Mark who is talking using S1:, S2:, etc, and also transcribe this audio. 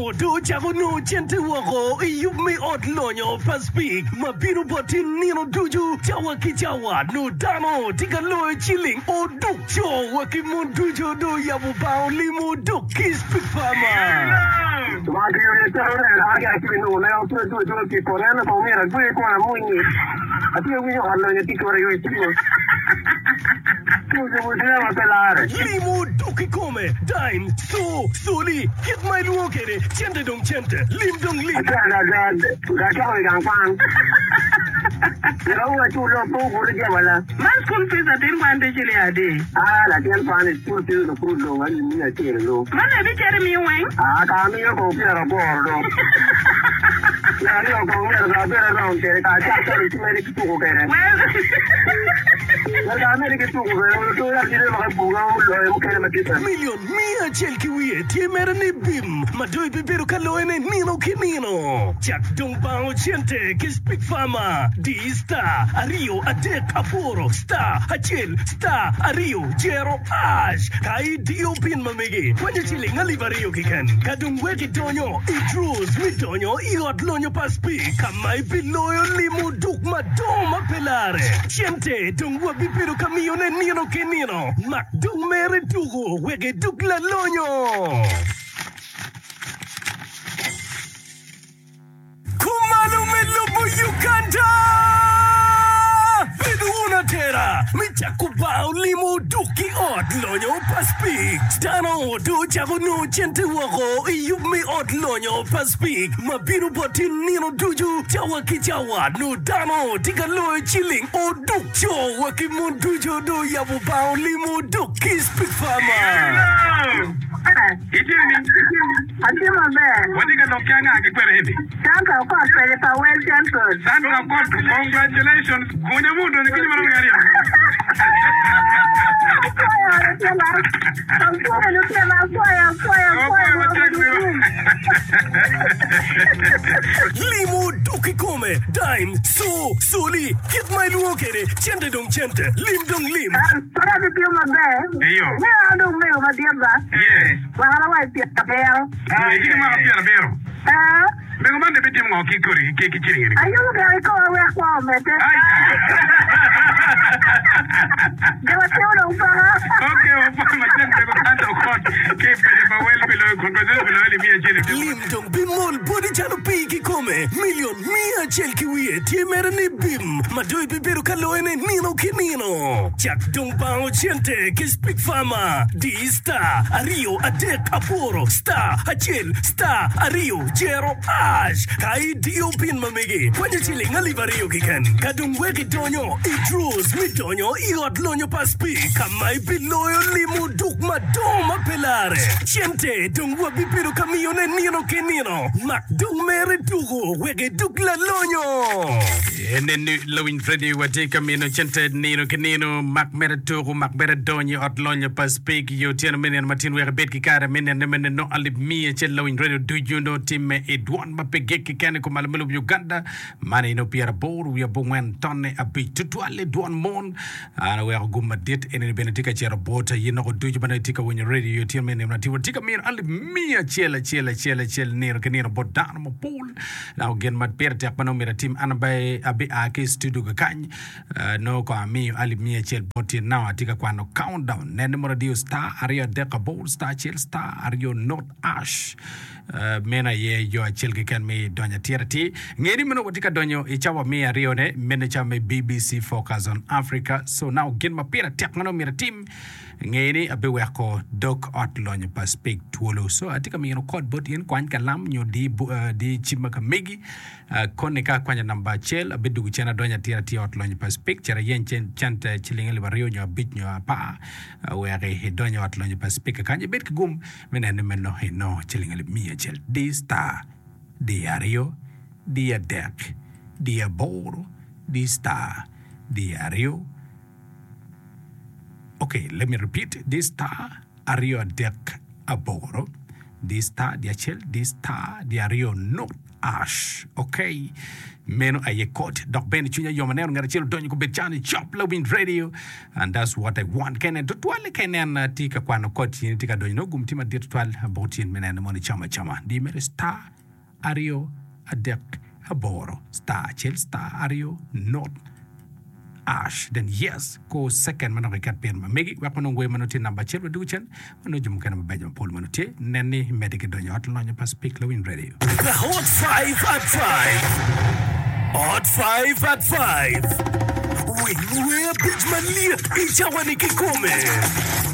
S1: Dano dong ocako nongo cente woko i yub me ot lonyo pa Speke ma bino boti nino ducu cawa ki cawa. Nongo dano tye ka loyo ciling oduk co wa ki mon ducu dong oyabo bang olimo oduk ki Speke Farmer. Limo oduk kikome, dime, co, coli, kit ma ilwongo kwede, cente dong cente, lim dong lim.
S2: Man school fees atin kwan tye ciling adi? Man ebicito imiyo weng?
S1: Milion miya acel ki wiye tye mere ni bim ma dong ibibedo ka loyone nino ki nino. Cak dong bango cente ki Speak Farmer. Di star aryo adek aboro star acel star aryo jero ash ka idiyo pin ma megi kwanyo ciling alip aryo keken. Ka dong wek idonyo i draws me donyo i ot lonyo pa Speak ka ma ibiloyo limo duk madongo ma pe larre. Cente dong wabibedo ka miyone nino ki nino. Mak dong mere tuko wek idug lalonyo. Kumalo me lobo Uganda! Bed wun atera me cako bar olimo oduk ki ot lonyo pa Speke. Dano dong ocako nongo cente woko i yub me ot lonyo pa Speke ma bino boti nino ducu cawa ki cawa. Nongo dano tye ka loyo ciling oduk co wa ki mon ducu dong oyabo bar olimo oduk ki Speke Farmer.
S3: Itye nining?
S2: Atye maber.
S3: Watye ka lok ki anga ki kwene eni?
S2: Sandra Okot kwede pa Well Temple.
S3: Sandra Okot, congratulations. Gunya mu odonyo kenyo marom ki aryo.
S2: Apwoyo lutino. Apwoyo lutino, apwoyo, apwoyo, apwoyo.
S3: Apwoyo matek wiwa.
S1: Limo dok kikome, dime, co, coli, kit ma ilwongo kwede, cente dong cente, lim dong lim.
S2: Pud atitio maber.
S3: Eyo.
S2: Me an dong mego madit ba.
S3: Yes.
S2: Mwaka ma wa i pyerabiro.
S3: Dwe itye ki mwaka pyerabiro.
S2: Ee.
S3: Mego man dong bitimo ngo ki kodi ki ki ciling eni?
S2: Ayubo gire i koma wek kwo omedde.
S3: Ai.
S2: Jo matino dong paka.
S3: Ok, wapwoyo matek mego Sandra Okot ki i paco pa Wel pi loyo congratulations pi loyo limiya acel i tyeko
S1: Lim
S3: matek.
S1: dong bimol boti calo pii kikome. Milion miya acel ki wiye tye mere ni bim ma dong ibibedo ka loyone nino ki nino. Cak dong bango cente ki Speak Farmer. Di star aryo adek aboro star acel star aryo jero ash ka idiyo pin ma megi kwanyo ciling alip aryo keken. Ka dong wek idonyo i draws me donyo i ot lonyo pa Speak ka ma ibiloyo limo duk madongo ma pe larre. Cente dong wabibedo ka miyone nino ki nino. Mak dong mere tuko wek idug lalonyo.
S4: Ene lawiny Freddy watye ka mino cente nino ki nino. Mak mere tuko, mak mere donyo i ot lonyo pa Speke i otyeno me nino matin wek ibed ki kare me nene me neno alip miya acel lawiny radio ducu nongo timme i dwon ma pe gik keken i kumalo me lobo Uganda. Man aye nongo pyeraboro wiye abongwen tonne abic tutwal i dwon mon. An aweko gum madit enini bene tye ka cito bot aye noko ducu ma nongo itye ka winyo radio i otyeno me nino matin. Watye ka mino alip miya acel acel acel acel nino ki nino bot dano mapol. Dok gin ma pire tek ma nongo myero atim an abe abia ki i studio kakany nongo kong amiyo alip miya acel bot tyen now atye ka kwano countdown nen ni mono adiyo star aryo adek abor star acel star aryo not ash meno aye yo acel keken me donyo atir atir nge ni meno watye ka donyo i cawa me aryone meno cawa me BBC Focus on Africa so now gin ma pire tek ma nongo myero atim Nge ni abiweko dog ot lonyo pa Speke twolo. So atye ka mino kod bot in, kwany kalam nyo di, di cim ma ka megi. Koni ka akwanyo namba acel, abidugo cen adonyo atir atir i ot lonyo pa Speke, cit ayeny cente ciling alip aryo nyo abic nyo apar wek idony i ot lonyo pa Speke kakany. Ibed ki gum me neno ni meno inongo ciling alip miya acel. Di star, di aryo, di adek, di aboro, di star, di aryo, Ok, let me repeat this star aryo adek aboro, this star di acel, this star di aryo not. Ash ok meno aye code dok bene cwinya yom aneno ngat acel odonyo kobed cani cop lawiny radio and that's what I want ka inen tutwalle ka inen atye ka kwano code in itye ka donyo nongo gum tye madit tutwal bot in me neno mono icamo acama di mere star aryo adek aboro star acel star aryo not Ash then yes ko second manok iket pin ma megi wek wanong wer manongo tye namba acel wadwogo cen wanongo jo mukene mabeco mapol manongo tye nen ni imedde ki donyo ot lonyo pa Speak Lawiny Radio.
S1: The Hot 5 at 5. Hot 5 at 5. Winy wer abic malyet i cawa ni kikome.